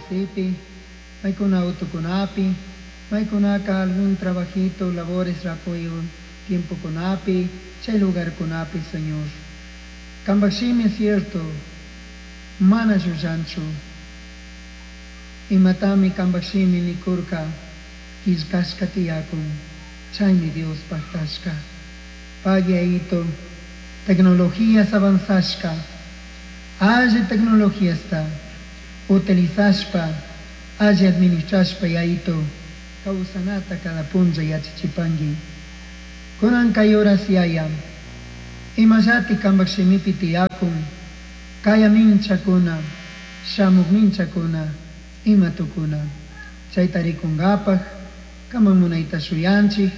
Wasipi, maykuna autokunapi, maykunaka algún trabajito, labores rakuy tiempokunapi, chay lugarkunapi, Señor. Kambaj shimi cierto, mana llullanchu. Imatami kambaj shimi nikurka, killkashka tiyakun, chaymi Dios pajtashka. Pagui Yayito, tecnologías avanzashka, alli tecnologiasta utilizashpa, alli administrashpa Yayito, kawsanata cada punlla yachachipangui. Kunan kay horas Yaya, imallati kambaj shimipi tiyakun, kaya minchakuna, shamuk minchakuna, ima tukuna. Chayta rikunkapaj, kaman munayta shuyanchik,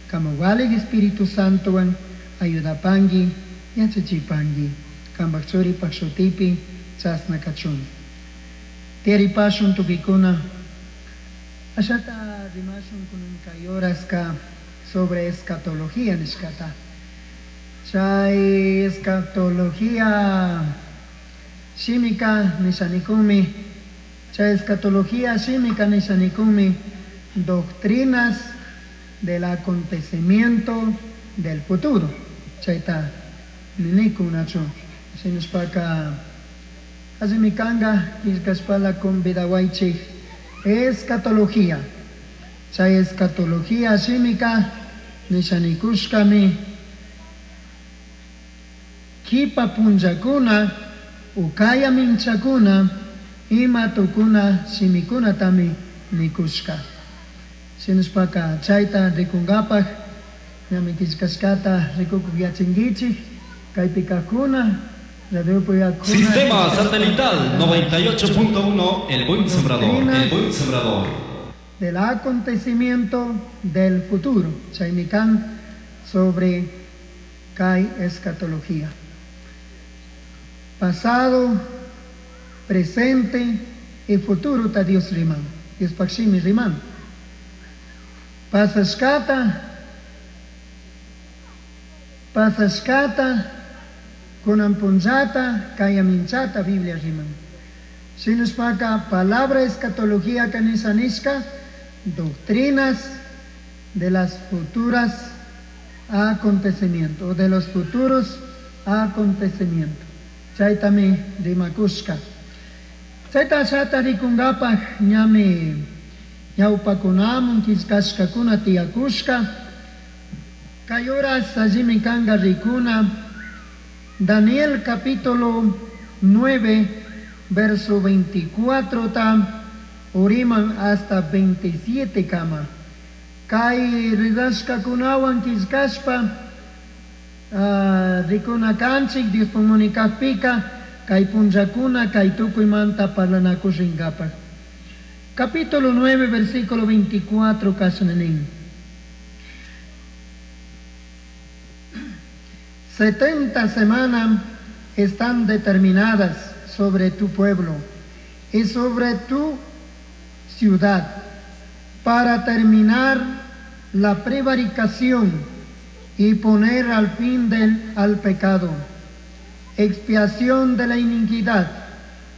kama walik Espíritu Santowan ayudapangui, yachachipangui. Kambaj churipaj shutipi chasna kachun. Tiyaripashun tukikuna. Ashata rimashun kunan kay horaska sobre escatología nishkata. Chay escatología shimika nishanikunmi, chay escatología shimika nishanikunmi doctrinas del acontecimiento del futuro. Chayta ninikunachu. Shinashpaka allimi kanga killkashpala convidawaychik escatología. Chay escatología shimika nishanikushkami kipa punllakuna ukaya minchakuna ima tukuna shimikunatami nikushka. Shinashpaka chayta rikunkapaj ñami killkashkata rikukuk yachinkichik kaypi kajkuna radiopi yakuna. Sistema satelital 98.1, El Buen Sembrador, El Buen Sembrador. Del acontecimiento del futuro. Chaymi kan sobre kay escatología. Pasado, presente y futuro ta Dios riman. Dios pakshimi riman. Pasashkata, pasashkata, kunan punllata, kaya minchata Biblia riman. Shinashpaka palabra escatología kanisa nishka, doctrinas de las futuras acontecimientos, o de los futuros acontecimientos. Chaytami rimakushka. Chayta ashata rikunkapaj ñami ñawpakunamun killkashkakuna tiyakushka. Kay horas allimi kanga rikuna Daniel capítulo 9, verso 24 ta uriman hasta 27 kama. Kay ridashkakunawan killkashpa, rikuna kanchik Dios pumunikakpika kay punllakuna kay tukuymanta parlanakushinkapaj. Capítulo 9, versículo 24 kashna nin. 70 semanas están determinadas sobre tu pueblo y sobre tu ciudad para terminar la prevaricación y poner al fin al pecado, expiación de la iniquidad,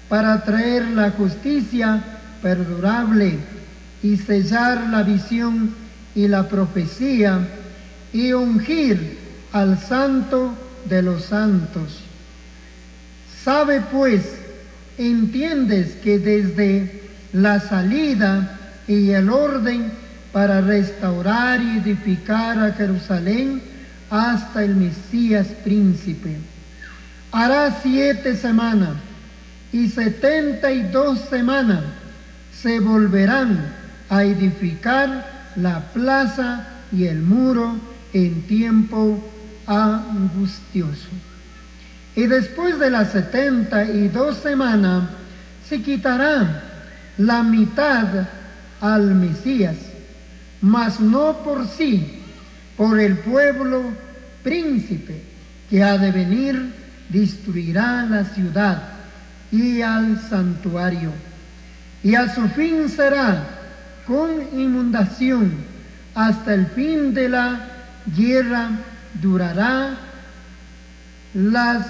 para traer la justicia perdurable y sellar la visión y la profecía y ungir al santo de los santos. Sabe pues, entiendes que desde la salida y el orden para restaurar y edificar a Jerusalén hasta el Mesías príncipe, hará 7 semanas y 72 semanas se volverán a edificar la plaza y el muro en tiempo angustioso. Y después de las 72 semanas se quitará la mitad al Mesías, mas no por sí, por el pueblo príncipe que ha de venir, destruirá la ciudad y al santuario. Y a su fin será con inundación, hasta el fin de la guerra durará las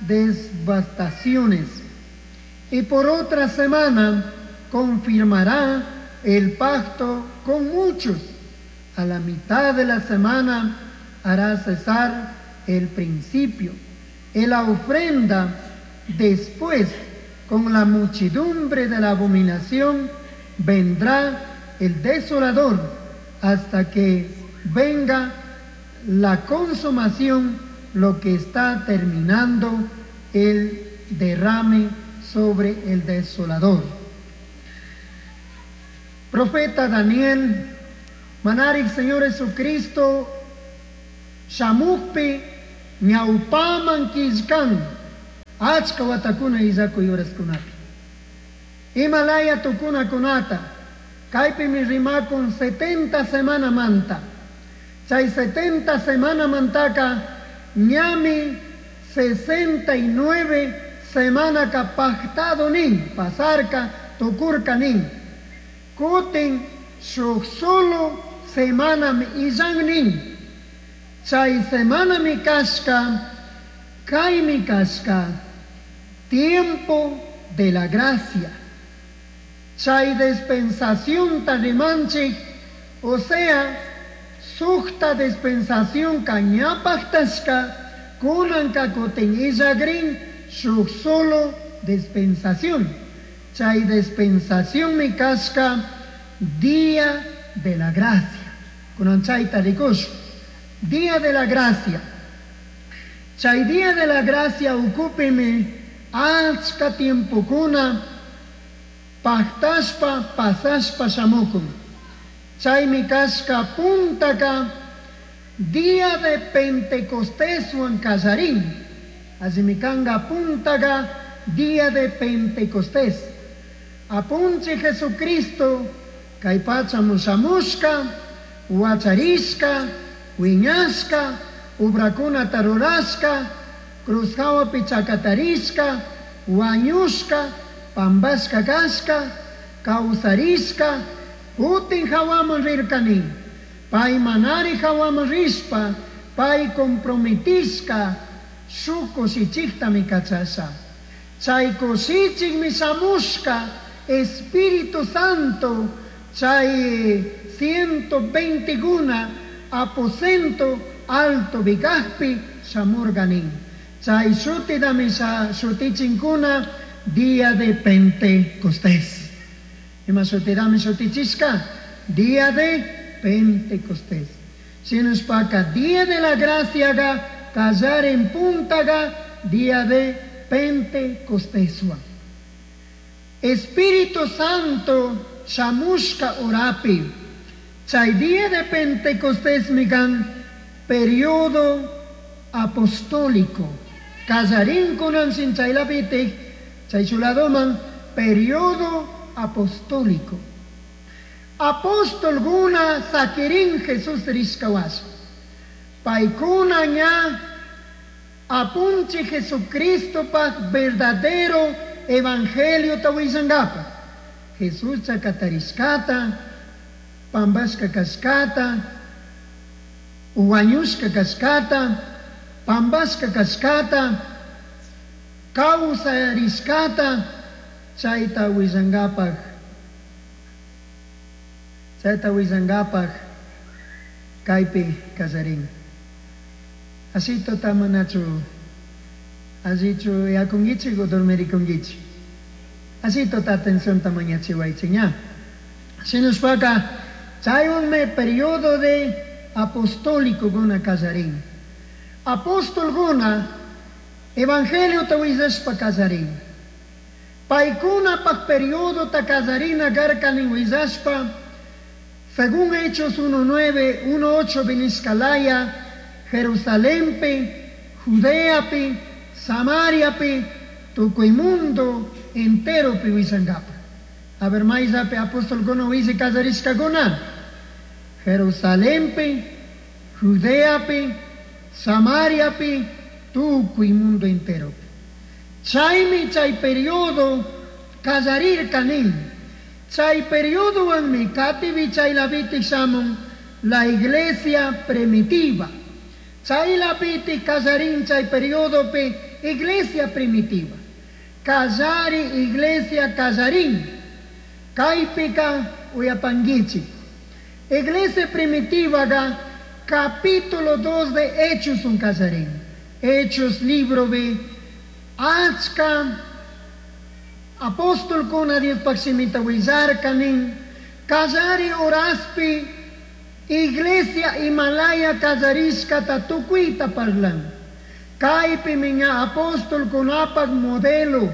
devastaciones. Y por otra semana confirmará el pacto con muchos. A la mitad de la semana hará cesar el principio. En la ofrenda después, con la muchedumbre de la abominación, vendrá el desolador hasta que venga la consumación, lo que está terminando el derrame sobre el desolador. Profeta Daniel, Manarik Señor Jesucristo, shamukpi ñawpaman killkan achka watakuna illakuy uraskunapi. Himalaya tukunakunata, kaypimi rimakun 70 semana manta. Chay 70 semana mantaka ñami 69 semana ka pactado nin, pasarka tukurka nin. Kutin shuk solo semana mi illan nin. Chay semana mi kashka, kay mi kashka, tiempo de la gracia. Chay dispensación tarimanchik, o sea, sukta dispensación kañapaktashka, kunanka kutin illagrin, shuk solo dispensación. Chay dispensación mi kashka, día de la gracia. Kunan chayta rikush, día de la gracia. Chay día de la gracia ukupimi achka tiempokuna paktashpa pasashpa shamukun. Chaymi kashka puntaka día de Pentecostéswan kallarin. Allimi kanga puntaka día de Pentecostés. Apunche Jesucristo kay pacha mushamushka, huacharishka, wiñashka, ubrakuna tarurashka, cruz hawapi chakatarishka, wañushka, pambashka kashka, kawsarishka, kutin hawaman rirkani. Pay manari hawaman rishpa, pay comprometishka, shuk kushichiktami kachasha. Chay kushichikmi shamushka, Espíritu Santo, chay 120 guna, aposento alto vigajpi shamurganin. Chay shutidami shutichinkuna, día de Pentecostés. Ima shutidami shutichishka, día de Pentecostés. Sinuspaka, día de la gracia ga, callar en punta ga, día de Pentecostésua. Espíritu Santo, shamushka orapi. Chay día de Pentecostés migan, periodo apostólico. Kallarin kunan sin chaylapitik, chay chuladoman, periodo apostólico. Apóstol guna sakirin Jesús rishkawash. Paikuna ña apunche Jesucristo pa verdadero evangelio tawizangapa. Jesús chakatarishkata, pambashka kashkata, uwañushka kashkata, pambashka kashkata, kawsarishkata, chayta willangapaj, chayta willangapaj, kaypi kallarin. Así tamanachu, allichu yakunkichik o dormirikunkichik. Así tota atención tamañachiwaychik ña. Sinushpaka, chaywanmi periodo de apostólico guna kallarin. Apóstol guna, evangelio tawillashpa kallarin. Paykuna pak periodo ta kallarina garkanin willashpa, según Hechos 1:9, 1:8 Viniscalaya, Jerusalempe, Judeapi, Samariapi, tukuy mundo entero pi willangapa. A ver, mayllapi apóstol guna wisi kallarishkakuna. Jerusalempe, Judeapi, Samariapi, tukuy mundo entero. Chaymi chay periodo kallarirkanin. Chay periodo wanmi katibi chay lapiti shamun la iglesia primitiva. Chay lapiti kallarin chay periodo pe iglesia primitiva. Kallari iglesia kallarin. Kaypika uyapankichik. Iglesia primitivaga capítulo 2 de Hechos un kallarin. Hechos libropi achka apostolkuna Diospaj shimita willarka nin. Kallari horaspi iglesia imalaya kallarishkata tukuyta parlan. Kaypimi ña apostolkunapaj modelo,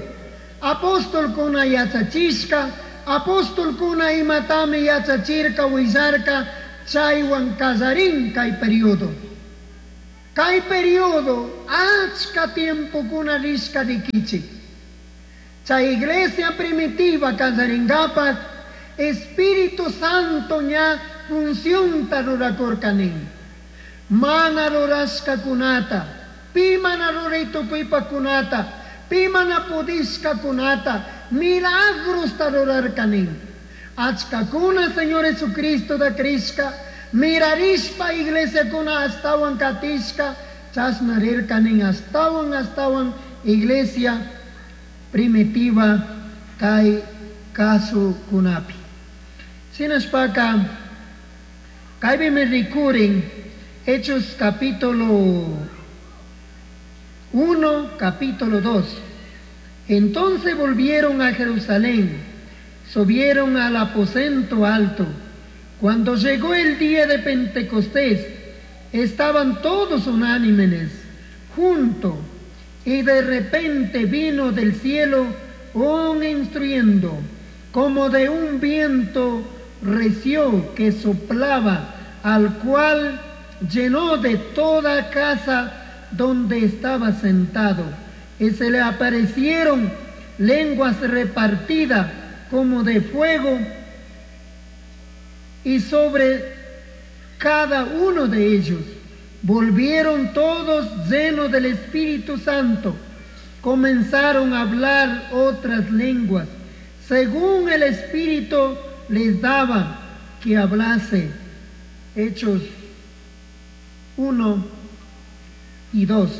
apostolkuna yachachishka, apostolkuna imatami yachachirka willarka chaywan kallarin kay periodo. Kay periodo achka tiempokuna rishka rikichik. Chay iglesia primitiva kallaringapaj Espíritu Santo ña funcionta rurakurka nin. Mana rurashkakunata, pi mana ruray tukuypajkunata, pi mana pudishkakunata, milagrosta rurarka nin. Achkakuna Señor Jesucristota crishka, mirarishpa iglesiakuna ashtawan katishka, chashna rirka nin ashtawan ashtawan iglesia primitiva kay kasukunapi. Shinashpaka kaypimi rikurin Hechos capítulo 1, capítulo 2. Entonces volvieron a Jerusalén, subieron al aposento alto. Cuando llegó el día de Pentecostés, estaban todos unánimes, juntos, y de repente vino del cielo un instruyendo, como de un viento recio que soplaba, al cual llenó de toda casa donde estaba sentado. Y se le aparecieron lenguas repartidas como de fuego, y sobre cada uno de ellos volvieron todos llenos del Espíritu Santo. Comenzaron a hablar otras lenguas, según el Espíritu les daba que hablase. Hechos 1 y 2.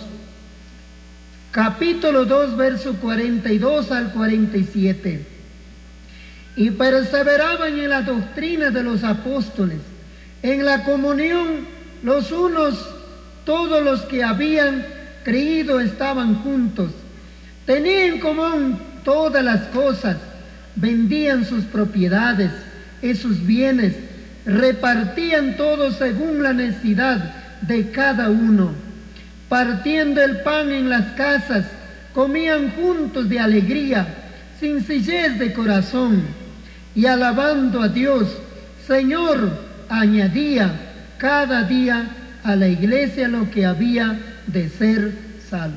Capítulo 2, verso 42 al 47. Y perseveraban en la doctrina de los apóstoles, en la comunión los unos, todos los que habían creído estaban juntos. Tenían en común todas las cosas, vendían sus propiedades y sus bienes, repartían todo según la necesidad de cada uno. Partiendo el pan en las casas, comían juntos de alegría, sencillez de corazón, y alabando a Dios, Señor, añadía cada día a la iglesia lo que había de ser salvo.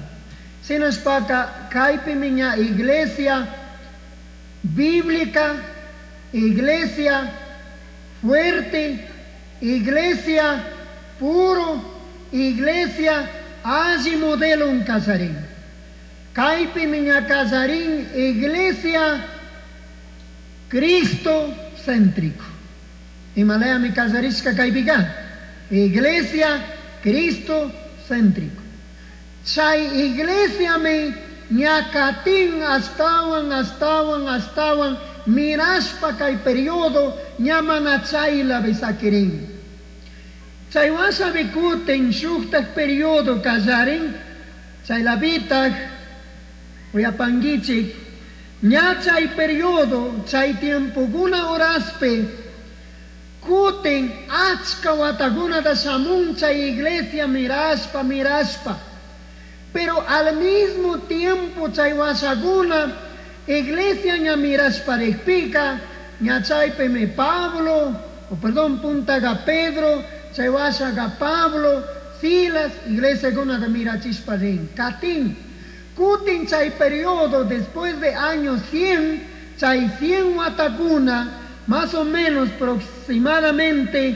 Shinashpaka kaypimi ña iglesia bíblica, iglesia fuerte, iglesia puro, iglesia alli modelo un kallarin. Kaypimi ña kallarin iglesia Cristo céntrico. Imalayami kallarishka kaypika. Iglesia Cristo céntrico. Chay iglesiami ña katin ashtawan, ashtawan, ashtawan, mirashpa kay periodo ña mana chaylapi sakirin. Chay washapi kutin shuktak periodo kallarin, chaylapitak uyapankichik, ña chay periodo, chay tiempokuna horaspi, kutin achka watakunata shamun chay iglesia mirashpa, mirashpa. Pero al mismo tiempo chay washakuna, iglesia ña mirashpa rikpika, ña chaypimi Pablo, o perdón, puntaga Pedro, chay washaga Pablo, Silas, iglesia kunata mirachishpa rin. Katin, kutin chay periodo después de años 100, chay 100 watakuna, más o menos aproximadamente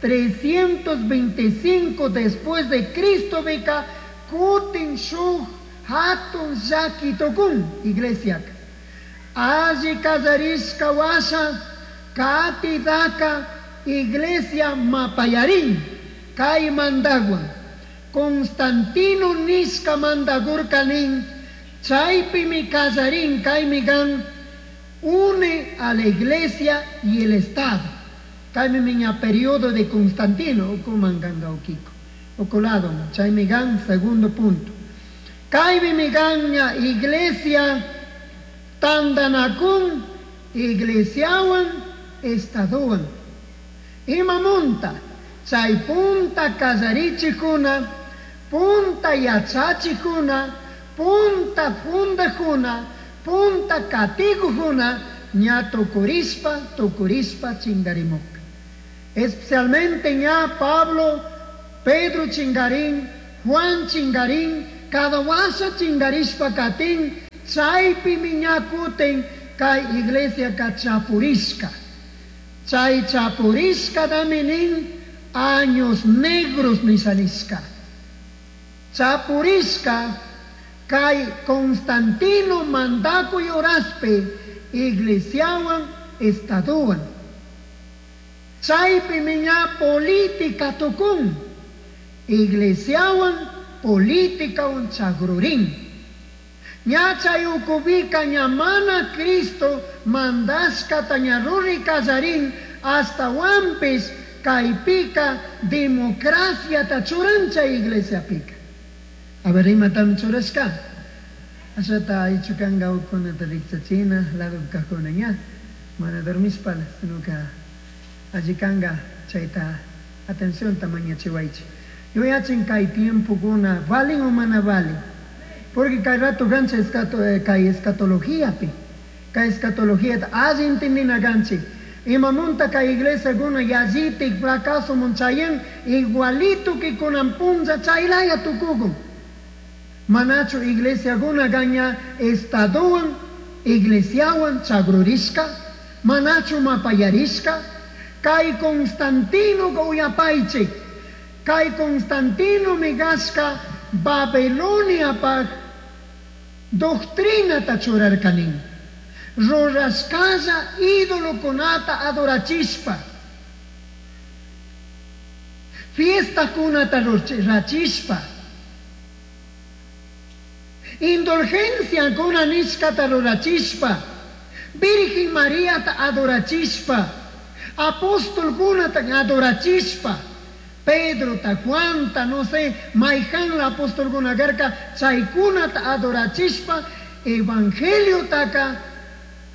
325 después de Cristo bika, kutin shuk hatun llaki tukun iglesia. Alli kallarishka washa, kati daka iglesia mapayarin, kay mandagwan. Constantino nishka mandagurka nin, chaypimi kallarin kaymi kan Une a la iglesia y el Estado. Kaymi miña periodo de Constantino, ukuman ganga ukiko. Ukulado, chaymi gan segundo punto. Kaymi miganña iglesia tandanakun iglesiawan estadowan. Imamunta chay punta kallarichikuna, punta yachachikuna, punta fundajuna, punta katigujuna, ña tukurispa, tukurispa chingarimukpi. Especialmente ña Pablo, Pedro chingarín, Juan chingarín, cada washa chingarishpa katin, chaypimi ña kutin kay iglesia ka chapurishka. Chay chapurishkatami nin años negros nishanishka. Chapurishka kay Constantino mandakuy horaspi iglesiawan estadowan. Chaypimi ña política tukun, iglesiawan políticawan chagrurin. Ña chay ukupika ña mana Cristo mandashkata ña ruri kallarin, hasta wampis kaypika democraciata churan chay iglesiapika. A ver, imatami churashka. Ashata aychukanga ukunata rikchachina, lado kajkuna ña, mana dormishpala, sino que allikanga chayta atencionta mañachiwaychik. Yuyachin kay tiempokuna valin o mana valin. Porque kay rato gancha kay escatologiapi, kay escatologia alli entendina ganchik. Imamunta kay iglesia guna yallitik fracaso munchayen igualito que kunan punlla chaylaya tukukun. Manachu iglesia guna gaña estadowan, iglesiawan chagrurishka, manachu mapayarishka, kay Constantino uyapaychik, kay Constantino migashka Babilonia paj doctrina churarkanin. Rurashkalla ídolokunata adorachishpa, fiestakunata rachishpa, indulgencia kuna nishkata rurachishpa, Virgen Mariata adorachishpa, apóstolkunata adorachishpa, Pedro ta Juanta, no sé, mayjan la apóstolkuna karka, chaykunata adorachishpa, evangelio taka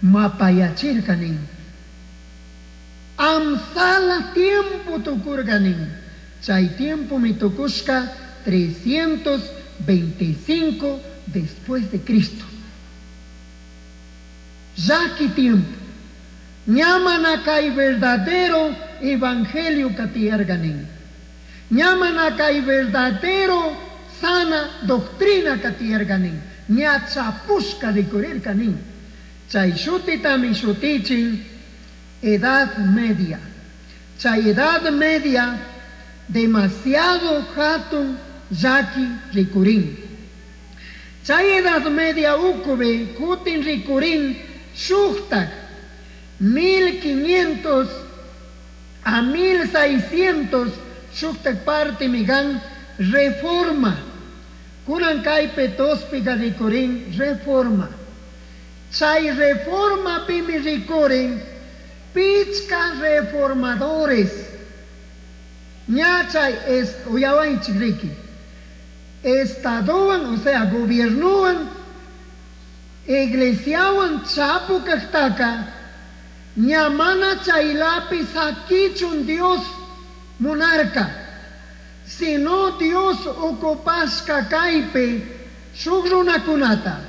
mapayachirkanin. Amsala tiempo tukurkanin. Chay tiempo mi tukushka 325 después de Cristo. Yaki tiempo. Ñamana kay verdadero evangelio katiyarganin. Ñamana kay verdadero sana doctrina katiyarganin. Ña chapushka rikurirkanin. Chay shutitami shutichin Edad Media. Chay Edad Media demasiado hatun llaki rikurin. Chay Edad Media ukubi kutin rikurin shuktak 1500 a 1600 shuktak parte migan reforma. Kunan kaypi tospiga rikurin reforma. Chay reforma pimi rikurin pichka reformadores. Ña chay es uyawanchik riki. Estadowan, o sea, gobiernowan, iglesiawan chapu kajtaka, ña mana chaylapi sakichun Dios monarca, sino Dios ocupashka kaypi shuk runakunata.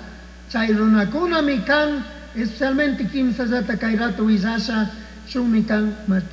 Chay runakunami kan, especialmente kimsallata kay rato willasha, shukmi kan Martín.